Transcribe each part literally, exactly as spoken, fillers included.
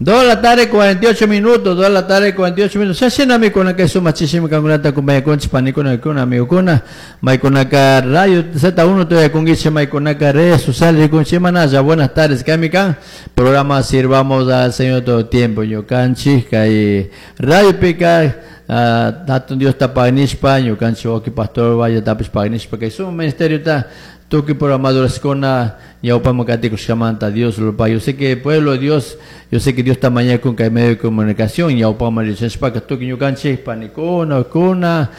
Dos de la tarde, cuarenta y ocho minutos, dos de la tarde, cuarenta y ocho minutos. Shashinami kay sumachishimi kankunata acompañakunchik, panikuna, kuna, amigokuna. Maykunaka Radio Z uno todavía kungiche, maykunaka redes sociales rikunchi manaya. Buenas tardes, kaymi kan programa Sirvamos al Señor todo tiempo. Ñukanchik kay Radio Pica, hatun Diosta pagnishpa, ñukanchik wawki pastor Valle tapish pagnishpa, kay suma ministerio ta tukuy programadores ñawpaman katikushkamanta Dios lo pague. Yo sé que pueblo de Dios, yo sé que Dios está mañana con que medio de comunicación ñawpaman richashpaka tukuy ñukanchik panikuna, kuna,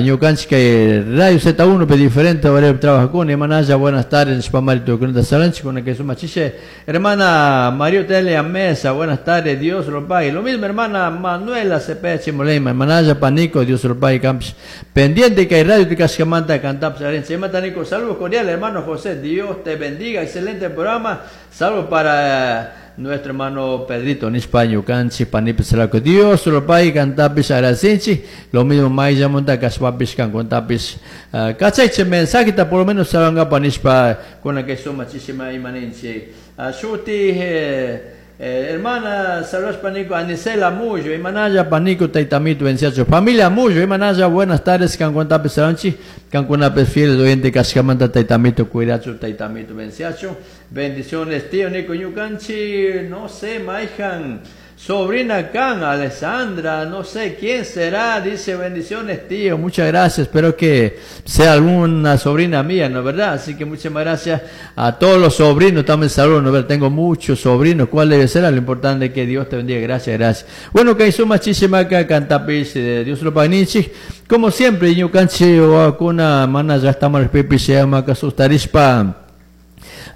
ñukanchik kay Radio Z uno pe diferente horario trabajakuna manaya. Buenas tardes nishpamari tukunata salanchik kuna kay suma chishe. Hermana María Otelia Mesa, buenas tardes, Dios lo pague. Lo mismo hermana Manuela Cepeda Chimolema, hermanaya panico, Dios lo pague, campus pendiente que hay radio kashkamanta cantapis arenche. Nico, saludos cordiales, hermano José, Dios te bendiga, excelente programa. Saludos para nuestro hermano Pedrito nishpa ñukanchik panipi saraco. Dios lo pague, cantapis agradechinchik. Lo mismo mayllamanta kashpapis kankuntapis kachaychik mensajeta, por lo menos saludankapa nishpa kuna kay suma chishima imaninchik. Shuti eh, eh, hermana, saludos panico, Anicela Muyo, imanaya panico, taitamito, venciacho. Familia Muyo, imanaya, buenas tardes, kankuntapis salanchi, kankunapis fieles oyente kashkamanta taitamito, cuidacho, taitamito, venciacho. Bendiciones, tío Nico ñukanchik, no sé, mayhan sobrina kan, Alessandra, no sé quién será, dice: "Bendiciones, tío, muchas gracias, espero que sea alguna sobrina mía", ¿no verdad? Así que muchas gracias a todos los sobrinos, también saludos, ¿no verdad? Tengo muchos sobrinos, ¿cuál debe ser? Lo importante es que Dios te bendiga, gracias, gracias. Bueno, kay suma chishimaka kantapis, Dios lo pagninchik, como siempre, ñukanchik wawakuna mana llaktaman rikpipish llama sustarishpa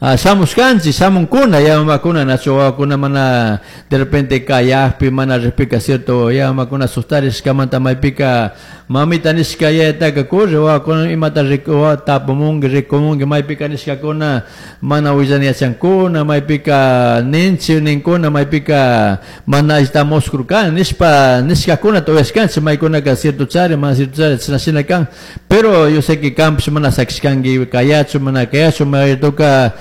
shamushkanchik, shamunkuna yamamakuna, nacho wawakuna mana de repente kayakpi mana rikpika, cierto, yamamakuna sustarishkamanta maypika mamita nishka yayataka corre wawakuna imata tapumunki, rikumunki, maypika nishkakuna mana willana yachankuna, maypika ninchik ninkuna, maypika mana allita muskurkani nishpa nishkakuna tuyashkanchik, maykunaka cierto chari, mana cierto chari, chashna shina kan, pero yo sé que kanpish mana sakishkanki kayachu, mana kayachu, maytoka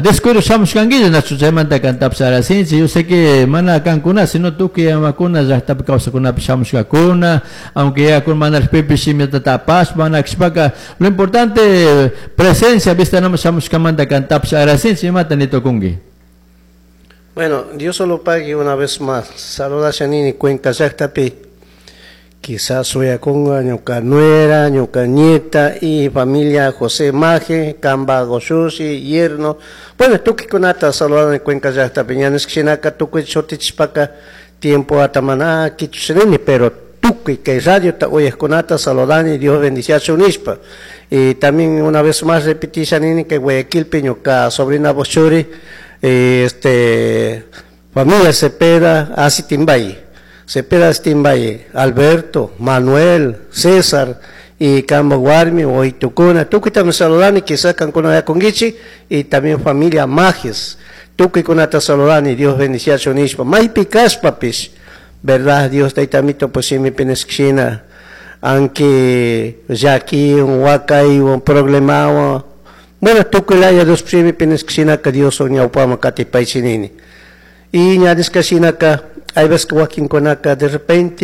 descuido shamushkankilla, nachu, chaymanta kantapish agradechinchik. Yo sé que mana kankuna, sino tukuy mamakuna llaktapi kawsakunapish shamushkakuna, aunque ya kun mana rikpipish imata tapashpa mana kashpaka, lo importante presencia vista nama shamushkamanta kantapish agradechinchik. Imata nitukunki? Bueno, Dios solo pague una vez más. Saluda Shanini Cuenca llaktapi. Quizás suyakunga ñuka nuera, ñuka nieta y familia José Maje, Kamba Goshushi, yerno. Bueno, tukuy kunata saludando en Cuenca llaktapi. Ñaniskinaka tukuy shutichishpaka tiempo atamana kichushinini, pero tukuy kay radio ta uyajkunata saludani, Dios bendiciachu nishpa. Y también una vez más repetí Shanini que Guayaquilpi ñuka sobrina Bochuri, este familia Cepeda Asitimbaye. Cepeda Asitimbaye, Alberto, Manuel, César y Kambo warmi, Oitukuna, tukuytami saludani, quizás kankuna yakunkichik y también familia Majes. Tukuykunata saludani, Dios bendiciachu nishpa. Maypi kashpapish, verdad, Dios taytamito pues shimipi nishkashina, aunque llakiwan, wakaywan, problemawan, bueno, tukuylaya Dios shimipi nishkashinaka Dios ñawpaman katipaychinini. Y ña nishkashinaka, hay veces que wakinkunaka de repente